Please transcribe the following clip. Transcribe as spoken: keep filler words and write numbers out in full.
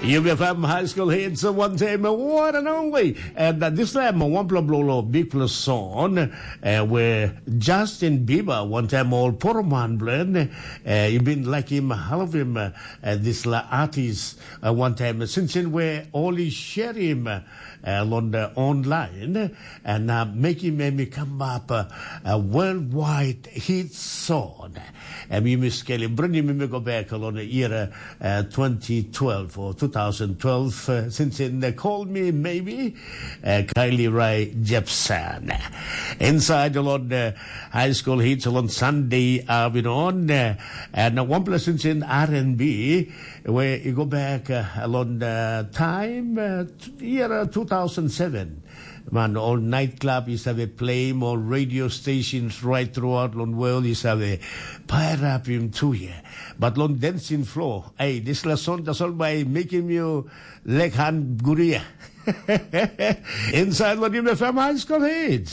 Yumi F M High School Hits, uh, one time, uh, one and only. And uh, this time, uh, one blo blo lo, big plus song, uh, where Justin Bieber, one time old Poroman Blen, uh, you been like him, I love him, uh, uh, this la artist, uh, one time, uh, since in where only share him, uh, uh, on the online, and uh, make him, uh, come up, uh, a worldwide hit song. Em yumi skelim, bringim yumi go back along the year uh, twenty twelve or two thousand twelve, uh, since in the Call Me Maybe, uh, Kylie Rae Jepsen. Inside along the high school hits along Sunday afternoon, uh, and uh, one place since in R and B, where you go back uh, along the time, uh, year uh, two thousand seven. Man, all nightclub is have a play, all radio stations right throughout long world is have a fire up him too here. But long dancing floor, hey, this la song that's all by making you leg hand guria. Inside Lodium F M High School Hits.